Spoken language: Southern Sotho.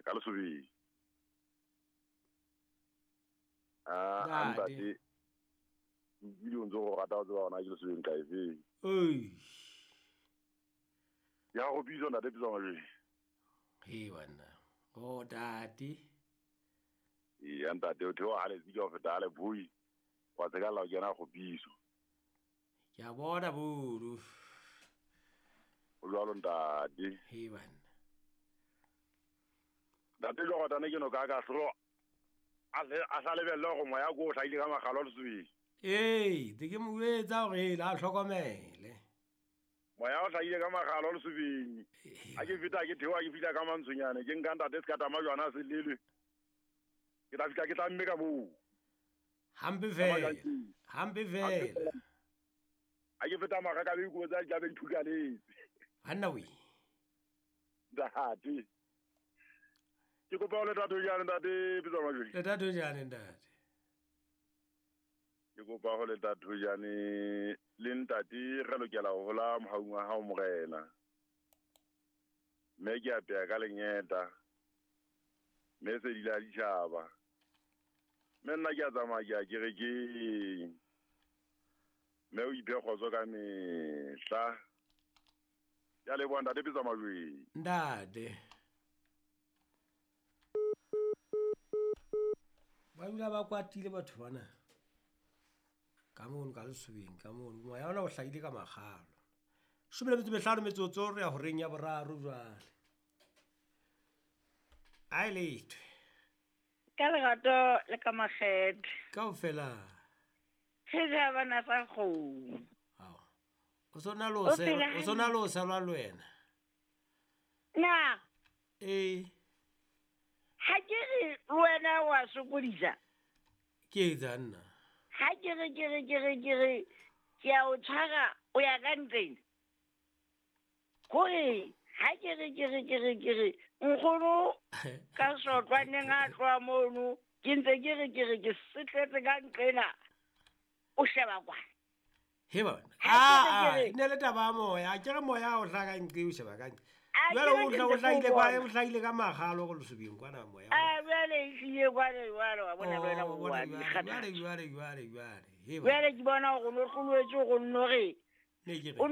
Ka lesobeng. A ntate. Ke o ntse go rata o tseba gona ke lesobeng ka efeng. Oi. Ya go bitsa ntate pitsa majwe. He banna. O tate. Ya ntate o theoha le tsika o feta le bui. Wa tseka la o kena go bitso. Ke a bona buru. O jwalo ntate. He banna. Ntate jo gotane ke no ka ka hlo. A sa lebelle go moya go hlaile ka magalo lesobeng. Ee, te ke mo etsa gore la hlokomele. Moya o hlaile ka magalo lesobeng. A ke feta ke theoha ke fihla ka mantshonyane ke nka ntate se ka tama jwana se lelwe. Ke tla fihla ke tla mme ka moo. Hampe fela. Hampe fela. A ke feta maga ka be ko tsa di be dithukaletse. Banna we. Ntate. Ke kopa o le tate jane ntate pitsa majwe. Le tate jane ntate. Ke kopa ho le tate jane le ntate re lokela ho hola mohaung wa hao morena. Mme ke apeya ka lengeta. Mme se di la ditjhaba. Mme nna ke a tsamaya ke a kerekeng. Mme o iphe kgotso ka mehla. Ke a leboha ntate pitsa majwe. Ntate. Ba dula ba kwatile batho bana. Ka mono ka lesobeng ka mono moya ona o hlahile ka magalo. 15 metsotso re ya horeng ya boraro jwale. Ai late. Ka lerato le ka makgethe. Kaofela. He ja bana sa kgomo. Ao. O sona lo se, o sona lo sa lwa le wena. Na. Eh. Ha ke re wena wa sokodisa. Ke etsa nna. Ha ke re ke a o tshwara o ya ka ntleng. Kore ha ke re nkgono ka sotlwaneng a tloha mono ke ntse ke re ke setletse ka nqena o sheba kwa. He bona. A ne le taba ya moya, ke re moya o hlaka nqe o sheba ka nqe. Jwale o hlahile kwa, o hlahile ka magalo go lesobeng kwana moya. A jwale e hlile kwana jwale wa bona le wena o wa Jwale. He bona. Jwale ke bona hore o no hloloetswe go nno re. Ne ke re. O